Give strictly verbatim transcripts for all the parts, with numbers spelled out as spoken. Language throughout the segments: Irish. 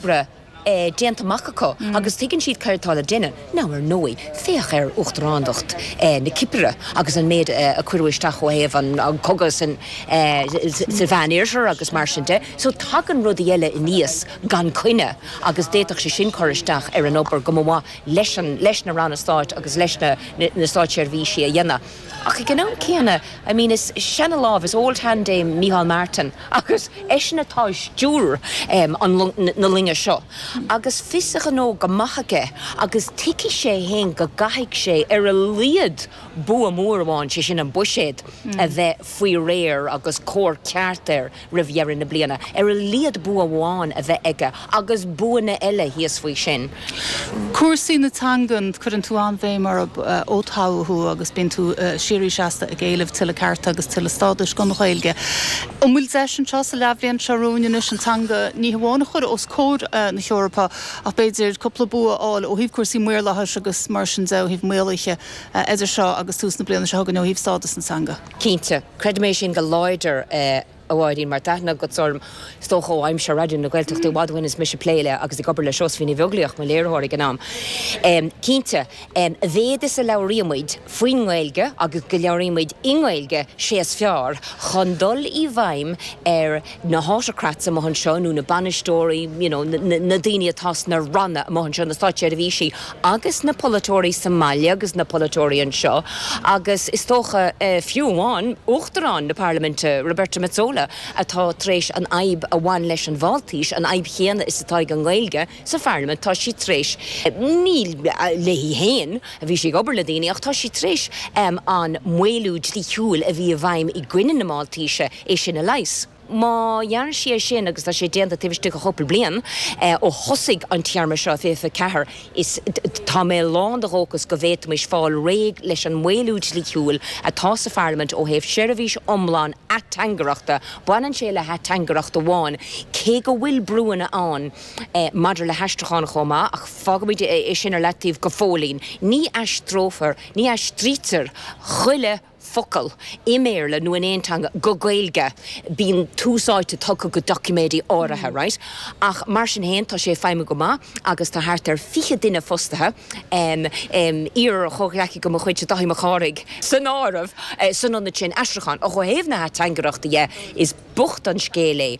Oibre eh, déanta amach acu agus tuigeann siad céard atá le déanamh. Now ar ndóigh, féach ar uachtarándacht eh, na Cipire agus an méid eh, a cuireadh isteach ó thaobh an, an cogadh san eh, sa Mheánoirthear agus mar sin de. So tagann rudaí eile aníos gan choinne agus d'fhéadfadh sé sin cur isteach ar an obair go maith leis an leis na ranna stáit agus leis na, na, na státseirbhísí a dhéanamh. Ach ag an am céanna, I mean is seana-lámh is old hand é Micheál Martin agus eisean atá ag stiúradh um, an na loinge seo. Agus fios a ghnó go maith aige agus tuigeann sé féin go gcaithfidh sé ar a laghad bua mór amháin sé sin an buiséad mm. a bheith faoi réir agus cóir ceart air roimh dheireadh na bliana. Ar a laghad bua amháin a bheith aige agus buanna eile thíos faoi sin. Cúrsaí na teangan cuireann tú an-bhéim ar ó toghadh thú agus bíonn tú síoraí seasta ag éileamh tuilleadh cearta agus tuilleadh stádais don Ghaeilge. An bhfuil deis anseo sa leathbhliain seo romhainn anois an teanga ní hamháin a chur os comhair na hEorpa ach b'fhéidir cúpla bua a fháil ó thaobh cúrsaí maorlathais agus mar sin de ó thaobh maoluithe idir seo agus tús na bliana seo chugainn ó thaobh stádas na teanga. Cinnte, creidim é sin go láidir eh, a Mháirín mar tá aithne agat orm is dócha ó aimsir Raidió na Gaeltachta i bhfad ó shin is mise ag plé le agus ag obair le Seosaimhín Ní Bheaglaoich mar léiritheoir ag an am. Um, Cinnte, um, a mhéad is a labhraímid faoin nGaeilge agus go labhraímid i nGaeilge sé is fearr chun dul i bhfeidhm ar na autocrats amuigh anseo nó na bainisteoirí you know, na, na, na daoine atá sna ranna amuigh anseo na státseirbhísí agus na polaiteoirí sa mbaile agus na polaiteoirí anseo agus is dócha uh, fiú amháin uachtarán na Parlaiminte Roberta Metsola atá tar éis an fhadhb a bhain leis an Mháltais an fhadhb chéanna is atá ag an nGaeilge sa Pharlaimint tá sí tar éis ní léi féin a bhí sí ag obair le daoine ach tá sí tar éis um, an maolú dlíthiúil a bhí i bhfeidhm i gcoinne na Máltaise é sin a leigheas. Má dhéanann sí é sin agus tá sé déanta taobh istigh de chúpla bliain eh, ó thosaigh an téarma seo fiche ceathair is tá mé lán de dhóchas go bhféadfaimis fáil réidh leis an maolú dlíthiúil atá sa Pharlaimint ó thaobh seirbhís iomlán ateangaireachta, baineann sé le hateangaireacht amháin, cé go bhfuil brúanna ann eh, maidir le haistriúchán chomh maith ach fágfaimid é sin ar leataobh go fóillín. Ní aistreofar, ní aistrítear chuile focal i mBéarla nó in aon teanga go Gaeilge bíonn tús áite tugtha go doiciméidí áirithe, right? Ach mar sin féin tá sé feidhmiú go maith agus tá thart ar fiche duine fostaithe um, um, iar-chomhghleacaí de mo chuid Dáithí Mac Cárthaigh san áireamh eh, san ionad sin aistriúchán ó thaobh na hateangaireachta dhe is bocht an scéal é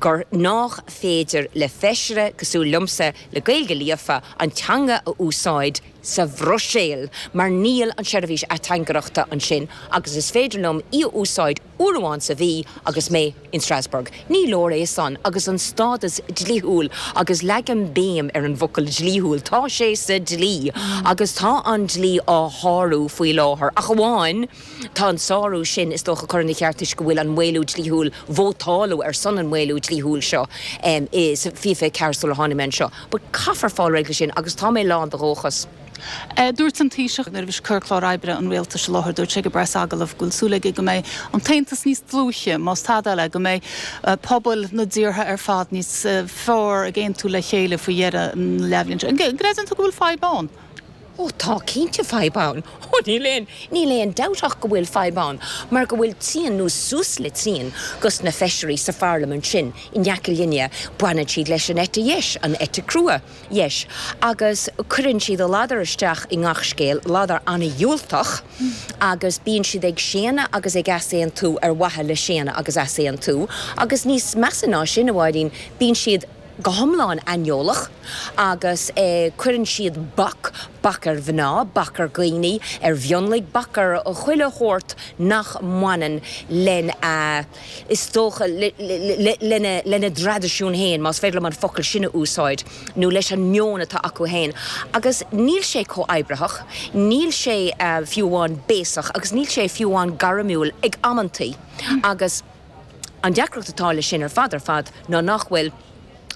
gur nach féidir le feisire cosúil liomsa le Gaeilge líofa an teanga a úsáid sa Bhruiséil, mar níl an seirbhís ateangaireachta ansin agus is féidir liom í a úsáid uair amháin sa mhí agus mé in Strasbourg. Ní leor é san agus an stádas dlíthiúil agus leagaim béim ar an bhfocal dlíthiúil, Tá sé sa dlí agus tá an dlí á shárú faoi láthair. Ach amháin tá an sárú sin is dócha chur na ceartais go bhfuil an maolú dlíthiúil vótáladh ar son an maolú dlíthiúil seo um, is fiche ceathair sular tháinig mé anseo. But caithfear fáil réidh sin agus tá mé lán de dhóchas. Eh, dúirt an Taoiseach nuair a bhí cur clár oibre an rialtais i láthair dúirt sé go preasagallamh go bhfuil súil aige go mbeidh an tAontas níos dlúithe más tada eile go mbeidh eh, pobal na dtíortha ar fad níos eh, fearr ag aontú le chéile faoi dheireadh an leathbhliain. Greideann tú go bhfuil fadhb ann? Ó tá cinnte fadhb ann. Ó níl aon níl aon dabht ach go bhfuil fadhb ann, mar go bhfuil trian nó suas le trian dos na feisirí sa pharlaimint sin in aice linne baineann siad leis an eite dheis an eite chrua dheis. Agus cuireann siad a ladar isteach i ngach scéal ladar an-diúltach agus bíonn siad ag séanadh agus ag easaontú ar mhaithe le séanadh agus easaontú, agus níos measa ná sin a Mháirín bíonn siad go hiomlán aineolach agus eh, cuireann siad bac bac ar mhná, bac ar dhaoine, ar mhionlaigh, bac ar chuile shórt nach mbaineann len uh, is dócha lena lena dtraidisiún féin, más féidir liom an focal sin a úsáid nó leis an meon atá acu féin. Agus níl sé comhoibritheach, níl sé uh, fiú amháin béasach agus níl sé fiú amháin gairmiúil ag amantaí. Agus an deacracht atá le sin ar fad ar fad ná nach bhfuil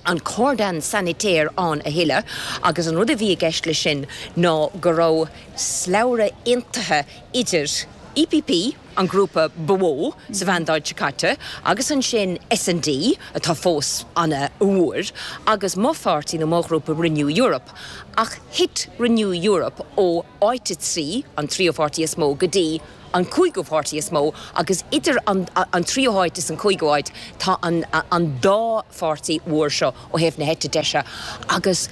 an cordon sanitaire ann a thuilleadh agus an rud a bhí i gceist le sin ná go raibh slabhra aontaithe idir E P P an grúpa ba mhó sa mhandáid seo caite agus ansin S and D atá fós an-mhór agus mo pháirtí nó mo ghrúpa Renew Europe. Ach thit Renew Europe ó áit a trí an tríú pháirtí is mó go dtí an cúigiú páirtí is mó agus idir an, an tríú háit is an cúigiú háit tá an, an dá pháirtí mhór seo ó thaobh na heite deise agus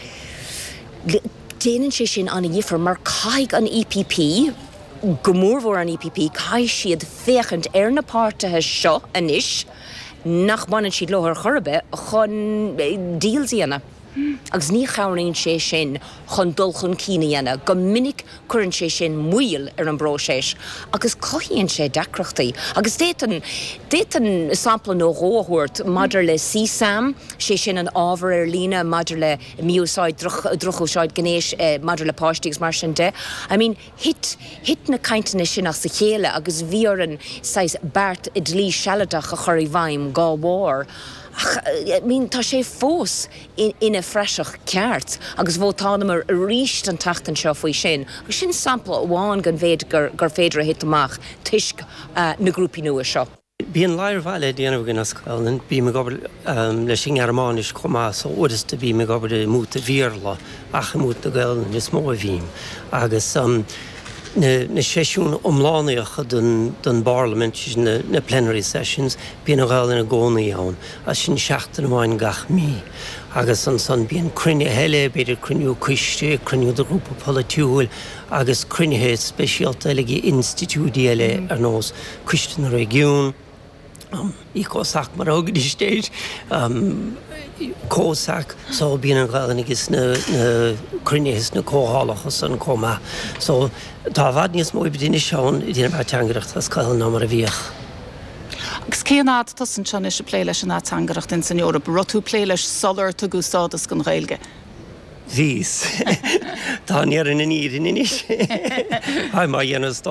déanann sé sin an-difear mar caithfidh an E P P, go mórmhór an E P P, caithfidh siad féachaint ar na páirtithe seo anois nach mbaineann siad leo ar chor ar bith chun deals a dhéanamh. Agus ní chabhraíonn sé sin chun dul chun cinn a dhéanamh. Go minic cuireann sé sin moill ar an bpróiseas agus cothaíonn sé deacrachtaí. Agus d'fhéadfainn d'fhéadfainn sampla nó dhó a thabhairt maidir le C SAM, sé sin an ábhar ar líne maidir le mí-úsáid, drochúsáid gnéis eh, maidir le páistí agus mar sin de. I mean, thit thit na cainteanna sin as a chéile agus bhí orainn saghas beart dlí sealadach a chur i bhfeidhm dá bharr. Ach I mean, tá sé fós in, ina phraiseach ceart agus vótálamar arís an tseachtain seo faoi sin. Agus sin sampla amháin den mhéid gur, gur féidir a thit amach toisc uh, na grúpaí nua seo. Bíonn lear le déanamh againn as Gaelainn, bím ag obair um, leis an nGearmáinis chomh maith, so uaireanta bím ag obair i mbúta Bhéarla ach i mbúta na Gaelainne is mó a bhím. Agus um, na, na seisiún iomlánaíocha den, den bParlaimint, na, na plenary sessions, bíonn an Ghaelainn i gcónaí ann, as sin seachtain amháin gach mí. Agus ansan bíonn cruinnithe eile, b'fhéidir cruinniú coiste, cruinniú de ghrúpa polaitiúil, agus cruinnithe speisialta eile ag institiúidí eile ar nós Coiste na Réigiún, um, ECOSOC mar a thugtar um, COSAC, so bíonn an Ghaelainn agus na, na cruinnithe na comhdhálacha san chomh maith. So tá i bhfad níos mó oibre ann i déanamh ateangaireacht as Gaelainn ná mar a bhíodh. Agus cén fhad tá tú anseo ag plé leis an ateangaireacht in san Eoraip, raibh tú ag plé leis sular tugadh stádas don Ghaeilge? Bhíos Tá ar an irin inis Ha má dhéanamh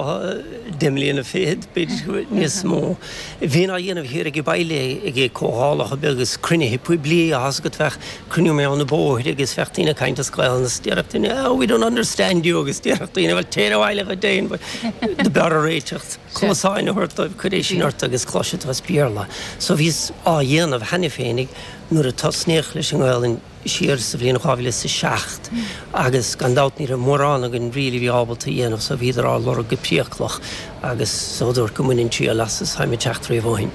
deich mbliana fichead b'fhéidir níos mó. Bhínn á dhéanamh thiar ag baile ag comhdhálacha agus cruinnithe poiblí a go bheadh cruinniú mé an na bóthir agus bheadh daoine ag caint as Gaelainn agus déarfadh daoine oh, we don't understand you agus déarfadh daoine well téir abhaile go déan do b'fhearr réiteacht. Cluasáin a thabhairt chuir sin ort agus cloisfidh tú as Béarla. So bhíos á dhéanamh cheana féinig nuair a tosnaíodh leis an nGaelainn siar sa bhliain dhá mhíle is a seacht agus gan dabht ní raibh mórán againn really bhí ábalta a dhéanamh, so bhíodar á lorg go priaclach agus so dúirt go mbaineann triail as is táim ag teacht riamh ó shin.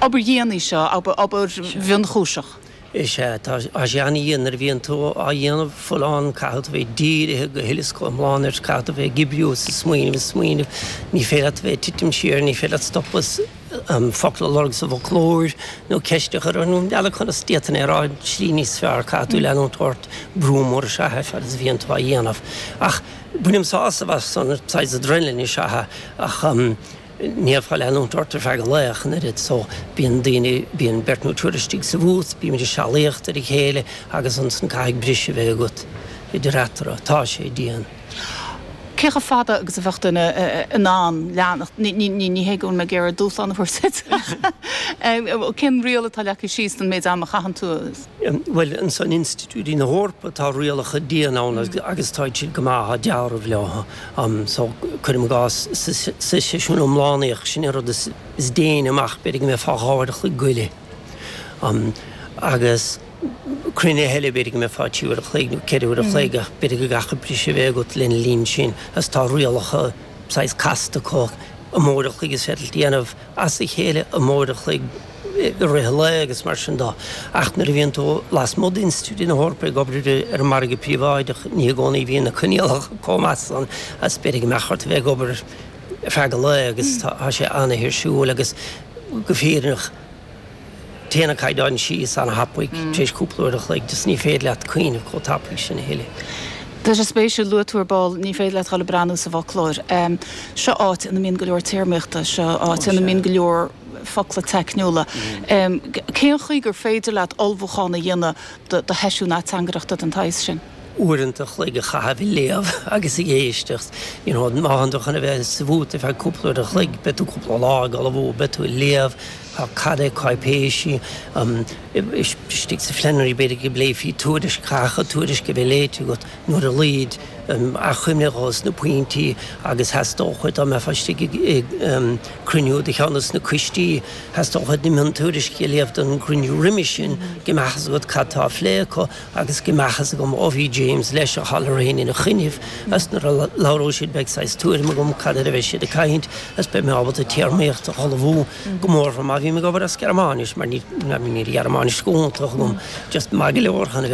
Obair dhian í seo, obair mhionchúiseach. Is é tá sé an-dhian nuair a bhíonn tú á dhéanamh folláin, caithfidh tú bheith dírithe go huile is go hiomlán air, caithfidh tú bheith ag oibriú is smaoineamh is smaoineamh, ní féidir leat bheith titim siar, ní féidir leat stopadh um, focal a lorg sa bhfoclóir nó ceist a chur nó eile conas d'fhéadfainn é a rá slí níos fearr, caithfidh tú leanúint ort, brú mór is ea é fad is a bhíonn tú á dhéanamh. Ach bainim sásamh as an saghas adrenaline is ea ach um, ní féidir leanúint ort ar feadh an lae ach an oiread, so bíonn daoine bíonn beirt nó triúr istigh sa bhúth, bímid ag sealaíocht ar a chéile agus ansan caithfidh briseadh a bheith agat idir eatarthu, tá sé dian. Cé chomh fada agus a bheadh duine in ann leanacht ní hé go mé ag iarraidh dúshlán a thabhairt. Cén riail atá leagtha síos don méid ama a chaitheann tú? Well ansan institiúidí na hEorpa tá rialacha dian ann agus tá siad go maith dealramh leo. Um, so cuirim i gcás sa seisiún iomlánaíoch sin an rud is, is déine amach b'fhéidir go mbeifeá dhá uair a chloig go leith. Um, agus cruinnithe eile b'fhéidir go mbeifeá trí uair a chloig nó ceithre uair a chloig ach b'fhéidir go gcaithfidh briseadh a bheith agat lena linn sin agus tá rialacha saghas casta acu an uair a chloig is féidir déanamh as a chéile an uair a chloig i rith an lae agus mar sin de. Ach nuair a bhíonn tú lasmuigh d'institiúidí na hEorpa ag obair ar an margadh príobháideach ní i gcónaí bhíonn na coinníollacha chomh maith san as b'fhéidir go mbeadh ort a bheith ag obair ar feadh an lae agus tá sé an-tuirsiúil agus go fírinneach téann an caighdeán síos an-tapaidh tar éis cúpla uair a chloig, just ní féidir leat cuimhneamh chomh tapaidh sin a thuilleadh. Tá sé spéisiúil luaigh tú ar ball, ní féidir leat dul ag breathnú sa bhfoclóir. Um, seo áit ina mbíonn go leor téarmaíochta, seo áit ina mbíonn go leor focla teicniúla. Um, cén chaoi gur féidir leat ullmhúchán a dhéanamh do, do sheisiún ateangaireachta den tsaghas sin? Uaireanta an chloig a chaitheamh ag léamh agus ag éisteacht. You know, má tánn tú chun a bheith sa bhúta feadh cúpla uair a chloig, beidh tú cúpla lá ag ullmhú, beidh tú ag léamh, Tá cad é cáipéisí istigh sa phlenary b'fhéidir go bpléifí tuairisc chaithfeadh tuairisc a bheith léite agat nuair a laghad achoimre dos na pointí agus theastódh dá mbeifeá istigh ag cruinniú de cheann des na coistí theastódh na miontuairiscí a léamh don gcruinniú roimhe sin go mbeadh a fhios agat cad tá á phlé acu agus go mbeadh a fhios agam ó bhí James leis a Halloran ina choinnibh as nuair a labhróidh siad beidh saghas tuairim agam cad air a bheidh siad ag caint is beidh mé ábalta téarmaíocht a ullmhú go mór má bhím ag obair as Gearmáinis mar ní ní Ghearmáinis go hiontach agam just maith go leor chun a bheith